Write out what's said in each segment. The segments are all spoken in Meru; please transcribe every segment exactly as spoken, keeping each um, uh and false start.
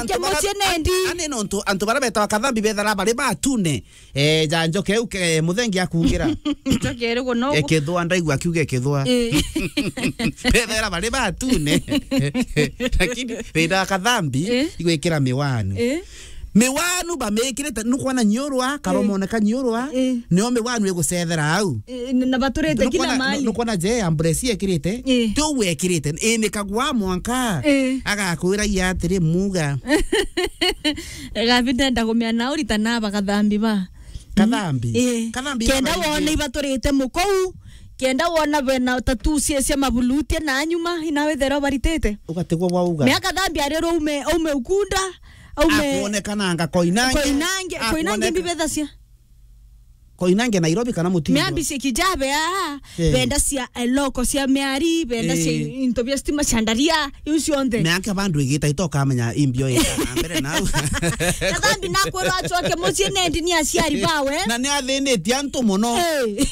Ke mucii nendi. Ani nontu antu baria betawa kathambi bethara bari batune. Eh, ja njoke u ke muthengi akugira. Njoke iri guno. Ekithwa ndaigua akiuga ekithwa. Eh. Bethara bari batune. Lakini wenda kathambi, eh, igwikira miwanu. Eh. Miwanu bamikirite, nukwona nyiurwa, eh, karomoneka nyiurwa, eh, nio miwanu igucethera au. Eh, na baturite kila mahali. Nukwona je ambulance ekirite, eh, ti u ekirite, inikagwa mwanka. Eh. Agakwira ya atiri muga. Gabi ndenda kumenya na urita na ba kathambi ba. Kathambi? Eh. Kathambi kenda wona ibaturite mukou, kenda wona bena tattoo cia, cia mabuluti na nyuma, ina wethera baritite. Ugatigwo bwa uga. Mea kathambi ari rume, ume ukunda, ume. Akuonekananga Koinange. Koinange, Koinange akuoneka- mbibethacia. Koinange Nairobi kana Mutindo? Mea mbisi kijabe aa, eh, benda cia, eh, loko cia miari, benda cia, eh, into bia stima cia ndaria, iu cionthe. Mea anke bandu igita itokamenya imbio ita na mbere nau. Kathambi nakwirwa acoke mucii nendi ni aciari bawe. Na ni athinitie antu muno. Eh.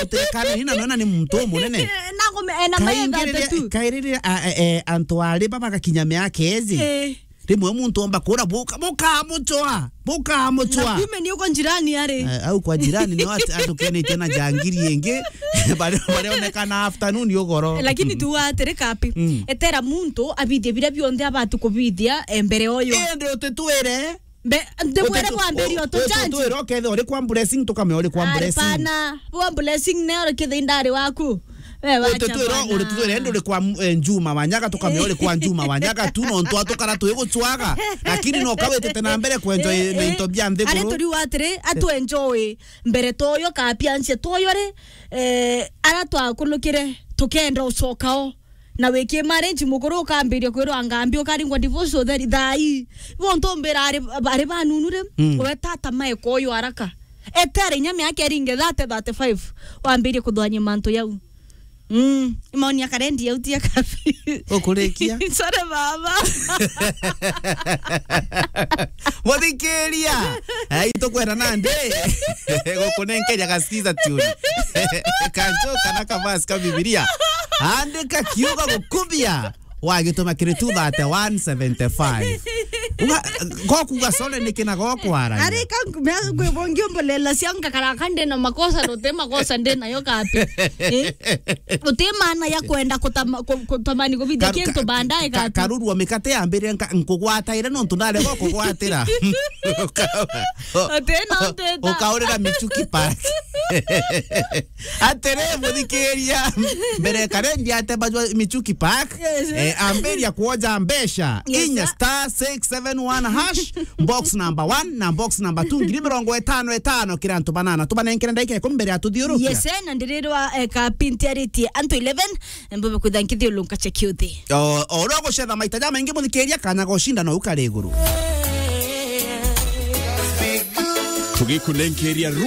Utekana ni na nona ni muntu munene. Nakume, ena maetha atetu. Kairiria, kairiria, a, e, e, antu ari baba gakinya miaka iji. Eh. Rimwe muntu omba kura, buka, bukamuchwa, bukamuchwa. Na kume ni uko njirani ari. Eh, au kwa jirani ni watu, atukenite na jangiri ingi. Bare, bareonekana afternoon ugoro. Lakini tu atiri kapi. Mm. Etera muntu abithie biria bionthe abati kubithia, eh, mbere oyo. Indi utitwire. Mbe, ndibwire kwambiria utujanji. Utitwire ukethira uri kwa blessing, tukamenya uri kwa blessing. Ari pana, bwa blessing ne uri kithindari waku. We wacha bwana. Utitwira, utitwira, ende uri kwa, eh, Njuma wa Nyaga, tukamenya uri kwa Njuma wa Nyaga tu, nontu atukara twiguchwaga. Lakini no kawitite na mbere kwenjoy, eh, na into bia nthiguru. Ari turiuga atiri, atu enjoy mbere toyo, kapiansie toyo ri, eh, ara twakunukire, tukenda ucokao. Na wiki marriage mukuru ukambiria kwirwa ngambi, ukaringwa divorce utheri thai. Bo ntumbira ari, ari banunu ri, mm, we tata maeka uyu haraka. Etere inya miaka iringe thirty, thirty-five, wambirie kuthwanyia mantu yau. Mm, maoni ya karendi yau ti ya kabi. Ukurikia? Sorry, baba. Muthikiria. Ai, tukwenda nandi. Gukunenkeria gaskiza tune. Kanjo kana kavasi ka Bibilia. Andika kiugo gukubia. Wagituma kiri two thirty-one seventy-five. Uga, gokuga sole niki na gokwara. Ari ka, me, ngwe bongi umbolela cia ngakara ka ndina makosa, no te makosa ndina yo kapi. Eh? Uti maana ya kwenda kutama-, ku-, kutamani kubithia kintu baadaye ka-, kapi. Karuru wa mikate yambire nka-, nkugwataire nontu ndarega kugwatira. Uti no ndeta. Ukaurira Michuki Park. Atiri, muthikiria, mbere karendi atebajwa Michuki Park, yes, eh, ambiria kuoja mbeca, yes, inya sir, star six seven one hash, box number one na box number two, ngiri mirongo itano itano kiri antu banana. Tubanenkere ndagika ikumi mbere ya tuthiurukia. Yes, eh, na ndirirwa, eh, kapinti aritie antu eleven, mbube kwitha nkithiulunka cha kiuthi. O, o uria ugucetha maita jamaingi, muthikiria, kanya ga ucinda no ukari iguru. Tugikunenkeria